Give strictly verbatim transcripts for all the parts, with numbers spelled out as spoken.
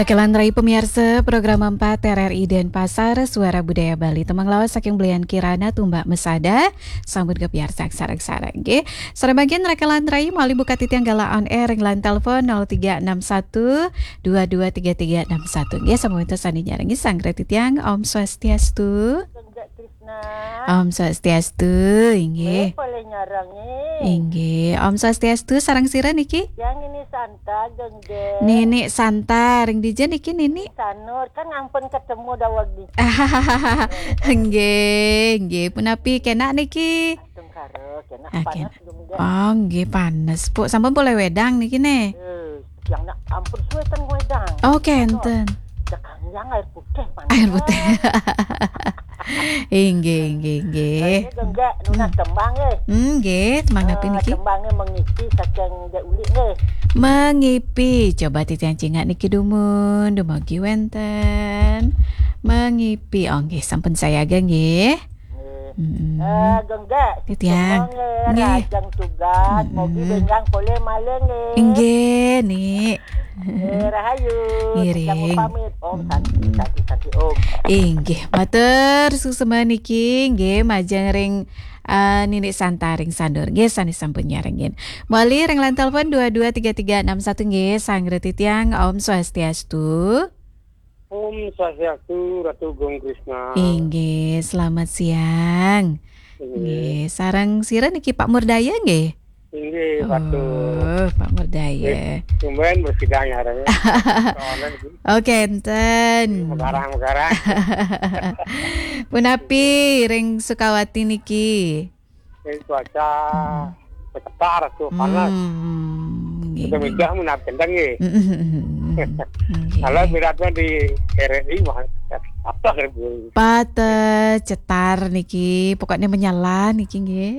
Rakelan rai pamiarsa program empat R R I Denpasar, Suara Budaya Bali. Tembang lawas saking Belian Kirana, Tumbak Mesada, sambut kapiarsa sareng-sareng nggih. Sareng mangkin rakelan rai malih buka titiang galah on air ring line telepon nol tiga enam satu dua dua tiga tiga enam satu. Nggih, sampun wénten sané nyarengi, sareng titiang. Om Swastiastu. Om Swastiastu, inggih. Boleh nyarengin. Inggih, Om Swastiastu, sareng sira niki? Yang ini Santa, Gengge. Nini Santa, ring dija niki, Nini? Sanur, kan ampun ketemu daweg di. Nggih, nggih, punapi kenak niki? Tengkara, kenak. Ah, panas, kenak. Gengge. Oh, nggih, panas, Puk. Sampun polih wedang niki, neh? Eh, yang nak ampun suwe ten wedang. Oh, kenten. Cekang yang air putih panas. Air putih. Inggih, inggih, inggih. Ini Gengge, nunas tembang, eh. Hmm, nggih, tembang napi niki? Tembangnya Mengipi saking Dek Ulik, nggih. Mengipi, coba titiang cingak niki dumun, dumugi wénten. Mengipi, oh, nggih, sampun sayaga, nggih. Nggih. Mm-mm. Eh, Gengge, titiang. Tembang, eh, nggih. Rajang tugas, mugi benjang polih malih, nggih. Inggih, Nik. Eh, rahayu. Ngiring. Titiang pamit. Om Santi, Santi, Santi, Om. Inggih, matur suksma niki, nggih, majeng ring, eh, Nini Santa ring Sanur. Nggih, sané sampun nyarengin. Malih ring line telepon dua dua tiga tiga enam satu, nggih, sareng titiang. Om Swastiastu. Om Swastiastu, Ratu Gung Krisna. Inggih, selamat siang. Inggih. Nggih, sareng sira niki Pak Murdaya, nggih? Inggih, Pak Tur. Oh, Pak Murdaya. Nggih, tumben bersidang ya, Ren. Soalnya niki. Oh, kenten. Megarang-megarang. Punapi ring Sukawati niki? Ini cuaca cetar tuh, panas. Hmm, nggih, nggih. Udah medah menap kentang, nggih. Mm, mm, mm, mm, mm. Nggih. Kalau beratnya di R R I mah, apa, Bu? Pateh, cetar niki, pokoknya menyala niki, nggih.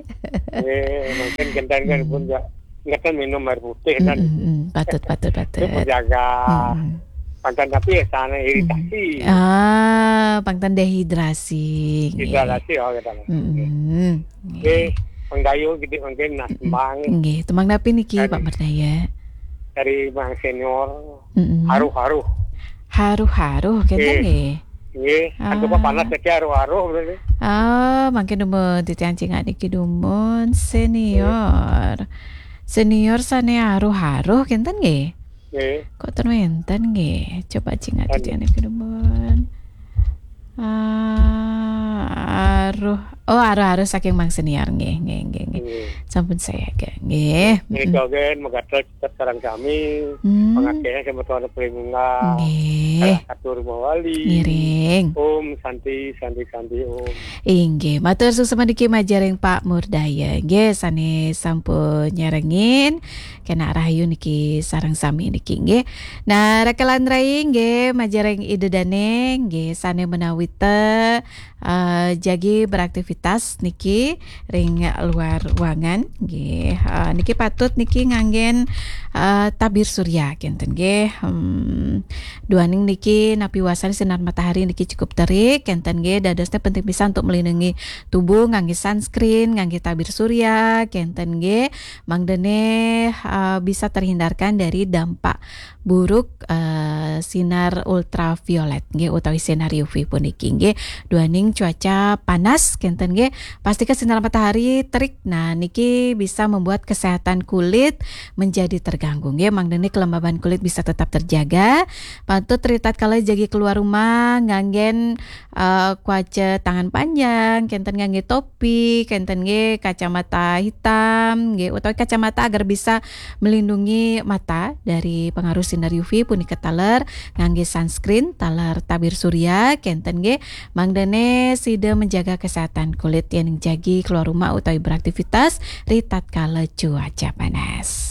Nggih, mungkin kentang kan pun ya, nggak kan minum air putih kan. Mm, mm, mm. Patut, patut, patut. Itu menjaga. Mm, mm. Pangtan tapi ya sana iritasi. Mm. Ah, pangtan dehidrasi, nggih. Dehidrasi, oh, gitu. Mm, mm. Nggih, Mang Dayu, gitu, mungkin, nah, tembang. Nggih, tembang napi niki, Pak Murdaya? Dari Mang Senior, mm-mm. Haruh-haruh. Haruh-haruh, kenten nggih? Nggih, kan coba panas ya, haruh-haruh, berarti. Ah, mangkin dumun titiang cingak niki dumun, Senior. Senior sané haruh-haruh, kenten nggih? Nggih. Kok ten wénten nggih? Coba cingak titiang niki dumun. Ah, aruh. Oh, aruh-aruh saking Mang Senior nggih, nggih, nggih, nggih. Nggih. Sampun sayaga nggih. Nggih, mm-mm. Menika gén megatel sareng sami. Hmm. Pangakehé semeton Pringungah. Nggih. Salah satu rumah wali. Ngiring. Om Santi, Santi, Santi, Om. Inggih, matur suksma niki majeng ring Pak Murdaya. Nggih, sané sampun nyarengin. Kenak rahayu niki sareng sami niki nggih. Nah, rakelan rai nggih, majeng ring Ida Dané nggih, sané menawi té, eh, jagi beraktivitas niki ring luar ruangan nggih. Eh, niki patut niki nganggén, eh, tabir surya kenten nggih. Hmm, duaning niki napi wastané sinar matahari niki cukup terik kenten nggih. Dadosné penting pisan untuk melindungi tubuh nganggé sunscreen, nganggé tabir surya kenten nggih. Mangdané, eh, bisa terhindarkan dari dampak buruk, eh, sinar ultraviolet nggih, utawi sinar U V puniki nggih. Duaning cuaca panas kenten nggih, pastika sinar matahari terik. Nah, niki bisa membuat kesehatan kulit menjadi terganggu nggih. Mangdané kelembaban kulit bisa tetap terjaga. Patut ritatkala jagi keluar rumah nganggén eh, kuaca tangan panjang, kenten nganggé topi, kenten nggih kacamata hitam, nggih, utawi kacamata agar bisa melindungi mata dari pengaruh sinar U V punika taler nganggé sunscreen, taler tabir surya, kenten nggih, mangdané sida menjaga kesehatan kulit yén jagi keluar rumah utawi beraktivitas ritatkala cuaca panas.